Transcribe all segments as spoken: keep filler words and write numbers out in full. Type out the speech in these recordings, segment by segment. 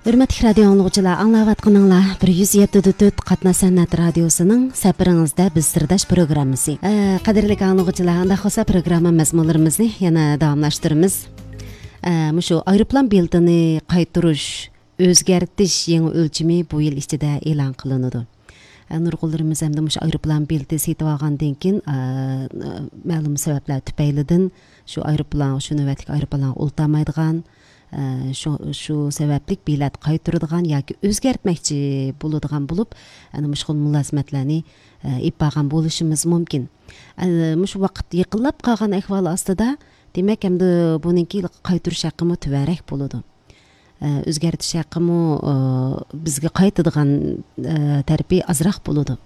ھۆرمەتلىك رادىيو ئاڭلىغۇچىلار، ئاڭلاۋاتقىنىڭلار بىر يۈز يەتتە دۆتتۆت قاتناش سەنئەت رادىيوسىنىڭ سەپىرىڭىزدە بىز سىرداش پروگراممىسى. ئە، قەدىرلىك ئاڭلىغۇچىلار، ئانداق بولسا پروگرامما مەزمۇنلىرىمىزنى يەنە داۋاملاشتۇرىمىز. ئە، مۇشۇ ئايروپىلان بېلىتىنى قايتۇرۇش، ئۆزگەرتىش يېڭى ئۆلچىمى بۇ يىل ئىچىدە ئېلان قىلىنىدۇ. ئە، نۇرغۇنلىرىمىز ئەمدى مۇشۇ ئايروپىلان بېلىتى سېتىۋالغاندىن كېيىن، ئە، مەلۇم سەۋەبلەر تۈپەيلىدىن شۇ ئايروپىلان، شۇ نۆۋەتلىك ئايروپىلانغا ئولتۇرالمايدىغان، ئە، شۇ، شۇ سەۋەبلىك بېلەت قايتۇرىدىغان ياكى ئۆزگەرتمەكچى بولىدىغان بولۇپ، ئەنە مۇشۇ خىل مۇلازىمەتلەرنى، ئە، ئېلىپ بارغان بولۇشىمىز مۇمكىن. ئە، مۇشۇ ۋاقىت يېقىنلاپ قالغان ئەھۋال ئاستىدا، دېمەك، ئەمدى بۇنىڭكى قايتۇرۇش ھەققىمۇ تۆۋەنرەك بولىدۇ. ئە، ئۆزگەرتىش ھەققىمۇ، ئە، بىزگە قايتىدىغان، ئە، تەرىپى ئازراق بولىدۇ.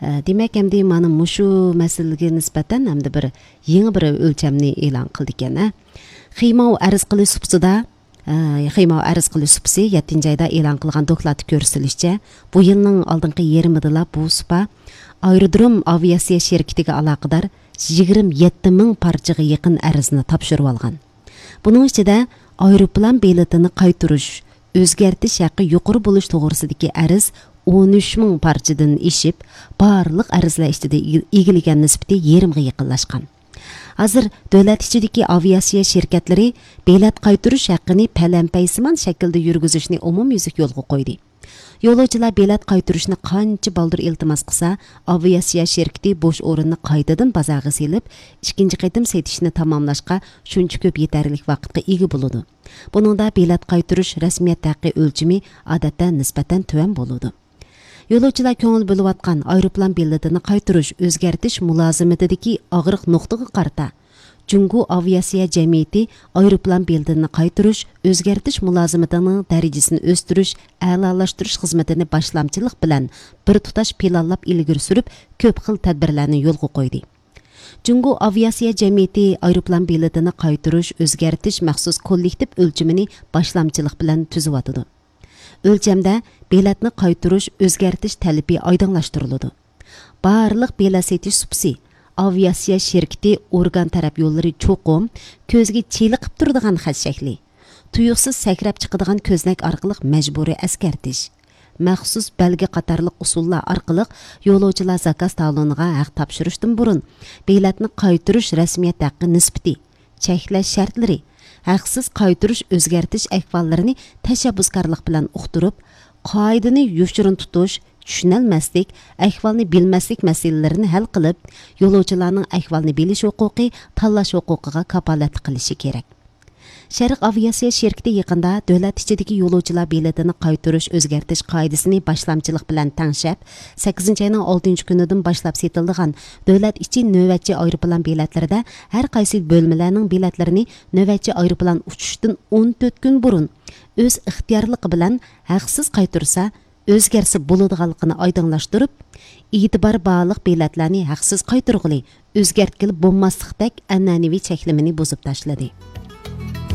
ئە، دېمەك، ئەمدى مانا مۇشۇ مەسىلىگە نىسبەتەن ئەمدى بىر يېڭى بىر ئۆلچەمنى ئېلان قىلدىكەن، ھە. خېماۋ ئەرز قىلىش سۇپىسىدا، ئە، خېماۋ ئەرز قىلىش سۇپىسى يەتتىنچى ئايدا ئېلان قىلغان دوكلاتتا كۆرسىتىلىشىچە، بۇ يىلنىڭ ئالدىنقى يېرىمىدىلا بۇ سۇپا ئايرودروم ئاۋىئاتسىيە شىركىتىگە ئالاقىدار يىگىرمە يەتتە مىڭ پارچىغا يېقىن ئەرزنى تاپشۇرۇۋالغان. بۇنىڭ ئىچىدە ئايروپىلان بېلىتىنى قايتۇرۇش، ئۆزگەرتىش ھەققى يۇقىرى بولۇش توغرىسىدىكى ئەرز ئون ئۈچ مىڭ پارچىدىن ئېشىپ، بارلىق ئەرزلەر ئىچىدە ئىگە-، ئىگىلىگەن نىسبىتى يېرىمغا يېقىنلاشقان. ھازىر دۆلەت ئىچىدىكى ئاۋىئاتسىيە شىركەتلىرى بېلەت قايتۇرۇش ھەققىنى پەلەمپەيسىمان شەكىلدە يۈرگۈزۈشنى ئومۇميۈزلۈك يولغا قويدى. يولۇچىلار بېلەت قايتۇرۇشنى قانچە بالدۇر ئىلتىماس قىلسا، ئاۋىئاتسىيە شىركىتى بوش ئورۇننى قايتىدىن بازارغا سېلىپ، ئىككىنچى قېتىم سېتىشنى تاماملاشقا شۇنچە كۆپ يېتەرلىك ۋاقىتقا ئىگە بولىدۇ. بۇنىڭدا بېلەت قايتۇرۇش رەسمىيەت ھەققى ئۆلچىمى ئادەتتە نىسبەتەن تۆۋەن بولىدۇ. يولۇچىلار كۆڭۈل بۆلۈۋاتقان ئايروپىلان بېلىتىنى قايتۇرۇش، ئۆزگەرتىش مۇلازىمىتىدىكى ئاغرىق نۇقتىغا قارىتا، جۇڭگو ئاۋىئاتسىيە جەمئىيىتى ئايروپىلان بېلىتىنى قايتۇرۇش، ئۆزگەرتىش مۇلازىمىتىنىڭ دەرىجىسىنى ئۆستۈرۈش، ئەلالاشتۇرۇش خىزمىتىنى باشلامچىلىق بىلەن بىر تۇتاش پىلانلاپ ئىلگىرى سۈرۈپ، كۆپ خىل تەدبىرلەرنى يولغا قويدى. جۇڭگو ئاۋىئاتسىيە جەمئىيىتى ئايروپىلان بېلىتىنى قايتۇرۇش، ئۆزگەرتىش مەخسۇس كوللېكتىپ ئۆلچىمىنى باشلامچىلىق بىلەن تۈزۈۋاتىدۇ. ئۆلچەمدە بېلەتنى قايتۇرۇش، ئۆزگەرتىش تەلىپى ئايدىڭلاشتۇرۇلىدۇ. بارلىق بېلەت سېتىش سۇپىسى، ئاۋىئاتسىيە شىركىتى، ئورگان تەرەپ يوللىرى چوقۇم كۆزگە چېلىقىپ تۇرىدىغان خەت شەكلى، تۇيۇقسىز سەكرەپ چىقىدىغان كۆزنەك ئارقىلىق مەجبۇرىي ئەسكەرتىش، مەخسۇس بەلگە قاتارلىق ئۇسۇللار ئارقىلىق يولۇچىلار زاكاز تالونىغا ھەق تاپشۇرۇشتىن بۇرۇن بېلەتنى قايتۇرۇش رەسمىيەت ھەققى نىسبىتى، چەكلەش شەرتلىرى، ھەقسىز قايتۇرۇش، ئۆزگەرتىش ئەھۋاللىرىنى تەشەببۇسكارلىق بىلەن ئۇقتۇرۇپ، قائىدىنى يوشۇرۇن تۇتۇش، چۈشىنەلمەسلىك، ئەھۋالنى بىلمەسلىك مەسىلىلىرىنى ھەل قىلىپ، يولۇچىلارنىڭ ئەھۋالنى بىلىش ھوقۇقى، تاللاش ھوقۇقىغا كاپالەتلىك قىلىشى كېرەك. شەرق ئاۋىئاتسىيە شىركىتى يېقىندا دۆلەت ئىچىدىكى يولۇچىلار بېلىتىنى قايتۇرۇش، ئۆزگەرتىش قائىدىسىنى باشلامچىلىق بىلەن تەڭشەپ، سەككىزىنچى ئاينىڭ ئالتىنچى كۈنىدىن باشلاپ سېتىلىدىغان دۆلەت ئىچى نۆۋەتچى ئايروپىلان بېلەتلىرىدە ھەر قايسى بۆلمىلەرنىڭ بېلەتلىرىنى نۆۋەتچى ئايروپىلان ئۇچۇشتىن ئون تۆت كۈن بۇرۇن ئۆز ئىختىيارلىقى بىلەن ھەقسىز قايتۇرسا، ئۆزگەرسە بولىدىغانلىقىنى ئايدىڭلاشتۇرۇپ، ئېتىبار بارلىق بېلەتلەرنى ھەقسىز قايتۇرغىلى، ئۆزگەرتكىلى بولماسلىقتەك ئەنئەنىۋى چەكلىمىنى بۇزۇپ تاشلىدى.